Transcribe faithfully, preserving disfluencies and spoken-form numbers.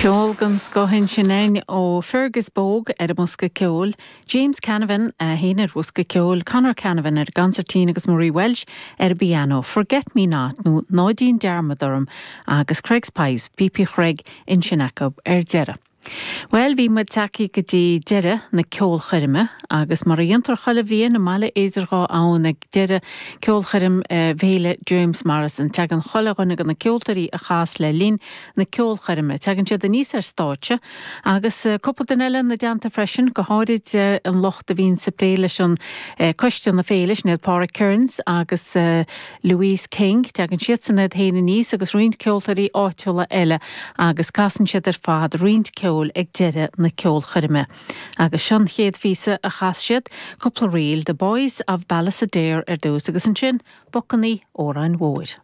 Ceol den scoth ansin againn ó Fergus Bogue ar an mbosca ceoil, James Canavan a haon ar bhosca ceoil, Conor Canavan ar gconsairtín agus Marie Welsh ar piano, Forget Me Not nó Ná Déan Dearmad Orm agus Craig's Pipes, Píopaí Chreig ansin acu ar deireadh. Well bhí muid tagtha go dtí deireadh na ceolchoirme agus mar a dhéantar chuile bhliain i mBaile Idir Dhá Abhainn ag deireadh ceolchoirm Fhéile James Morrison tegann chuile dhuine de na ceoltóirí a chas le linn na ceolchoirme. Tegann siad aníos ar stáitse agus cúpla duine eile ina dteannta freisin go háirid an lucht a bhíonn sa plé leis an coiste na féile sin iad Pádraig Kearns agus Louise King, tegann siad san iad féin aníos agus roinnt ceoltóirí áitiúla eile agus casann siad ar fad roinnt ceoil ag deireadh na ceolchoirme. Agus seo an chéad phíosa a chas siad cúpla ríl The Boys of Ballisodare ar dtús agus ansin Bocannaí Óráin Mhóir.